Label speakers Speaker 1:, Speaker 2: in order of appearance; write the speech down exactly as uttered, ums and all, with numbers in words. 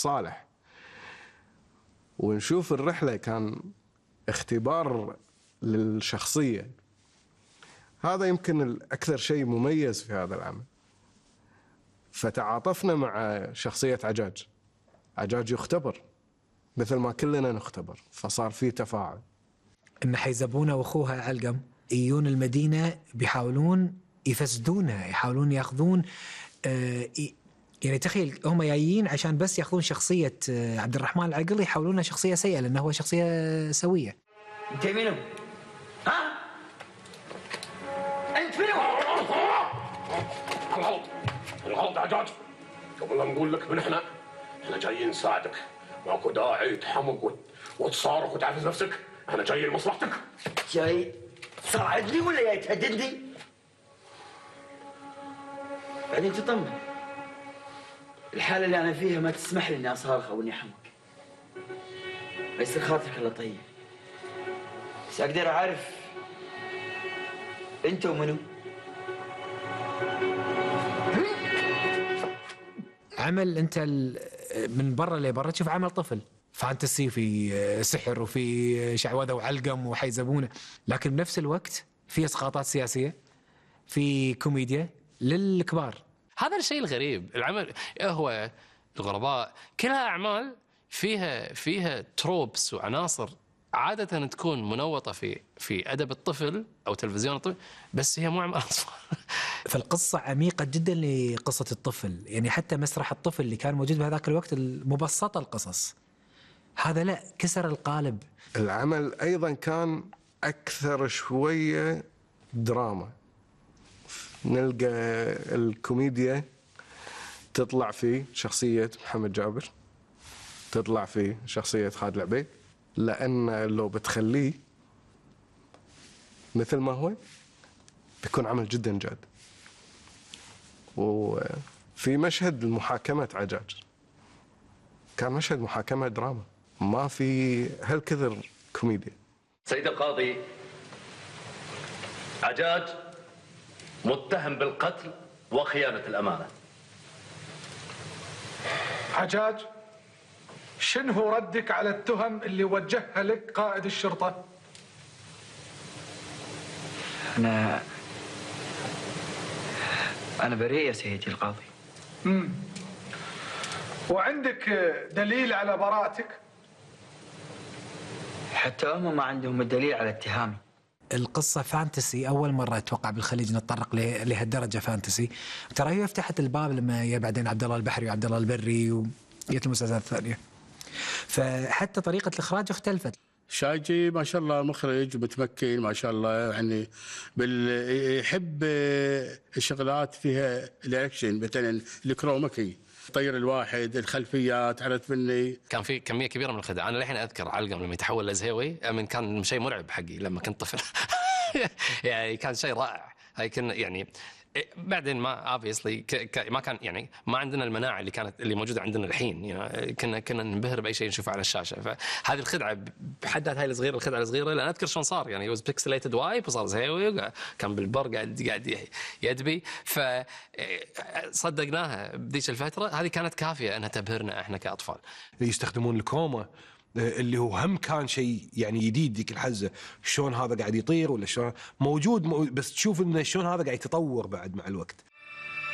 Speaker 1: صالح. ونشوف الرحلة كان اختبار للشخصية. هذا يمكن الأكثر شيء مميز في هذا العمل. فتعاطفنا مع شخصية عجاج. عجاج يختبر مثل ما كلنا نختبر، فصار في تفاعل.
Speaker 2: إن حيزبونة وأخوها علقم يجون المدينة بيحاولون يفسدونها، يحاولون يأخذون آه يعني تخيل هم جايين عشان بس يأخذون شخصية آه عبد الرحمن العقل، يحاولونها شخصية سيئة لأنه هو شخصية سوية.
Speaker 3: أنت منو؟ ها؟ أنت منو؟
Speaker 4: الغلط الغلط عجاج. قبل لا نقول لك من احنا احنا جايين نساعدك، ماكو داعي تحمق وتصارخ وتعفز نفسك. احنا جايين لمصلحتك.
Speaker 3: جاي تساعدني ولا جاي تهددني؟ بعدين تطمن، الحالة اللي أنا فيها ما تسمح لي إني أصارخ أو إني أحمق. يصير خاطرك الله طيب، بس أقدر أعرف أنت ومنو؟
Speaker 2: عمل أنت من برا لبرا تشوف عمل طفل فانتسي، في سحر وفي شعوذة وعلقم وحيزبونه، لكن بنفس الوقت في اسقاطات سياسية، في كوميديا للكبار.
Speaker 5: هذا الشيء الغريب. العمل هو الغرباء كلها أعمال فيها فيها تروبس وعناصر عادة تكون منوطة في في أدب الطفل أو تلفزيون الطفل، بس هي مو أعمال أطفال.
Speaker 2: فالقصة عميقة جدا لقصة الطفل، يعني حتى مسرح الطفل اللي كان موجود بهذاك الوقت المبسطة القصص، هذا لا كسر القالب.
Speaker 1: العمل أيضا كان أكثر شوية دراما. نلقى الكوميديا تطلع في شخصية محمد جابر، تطلع في شخصية خالد العبيد، لأن لو بتخليه مثل ما هو بيكون عمل جدا جاد. وفي مشهد محاكمة عجاج كان مشهد محاكمة دراما، ما في هالكثر كوميديا.
Speaker 6: سيد القاضي، عجاج متهم بالقتل وخيانة الأمانة.
Speaker 7: عجاج، شنو ردك على التهم اللي وجهها لك قائد الشرطة؟
Speaker 3: أنا أنا بريء يا سيدي القاضي.
Speaker 7: امم وعندك دليل على براءتك؟
Speaker 3: حتى هم ما عندهم الدليل على اتهامي.
Speaker 2: القصة فانتسي، أول مرة أتوقع بالخليج نتطرق لهالدرجة فانتسي. ترى هي فتحت الباب لما يا بعدين عبد الله البحري وعبد الله البري وجت المسلسلات الثانية، فحتى طريقة الإخراج اختلفت.
Speaker 8: شاجي ما شاء الله مخرج متمكن ما شاء الله، يعني بال يحب الشغلات فيها الاكشن، مثلا الكروماكي، طير الواحد، الخلفيات، عرفت مني.
Speaker 5: كان في كميه كبيره من الخدع. انا الحين اذكر علقم لما يتحول لزهيوي، من كان شيء مرعب حقي لما كنت طفل. يعني كان شيء رائع. هاي كنا يعني بعدين ما obviously ما كان يعني ما عندنا المناعه اللي كانت اللي موجوده عندنا الحين، يعني كنا كنا ننبهر باي شيء نشوفه على الشاشه. فهذه الخدعه بحد ذاتها هاي الصغيره، الخدعه الصغيره، لان اذكر شلون صار، يعني was pixelated وايب وصار زهيوي، كان بالبر قاعد قاعد يدبي. فصدقناها بذيك الفتره، هذه كانت كافيه انها تبهرنا احنا كاطفال.
Speaker 9: يستخدمون الكروما اللي هو هم كان شيء يعني جديد ذيك الحزه، شلون هذا قاعد يطير ولا شلون موجود، بس تشوف انه شلون هذا قاعد يتطور بعد مع الوقت.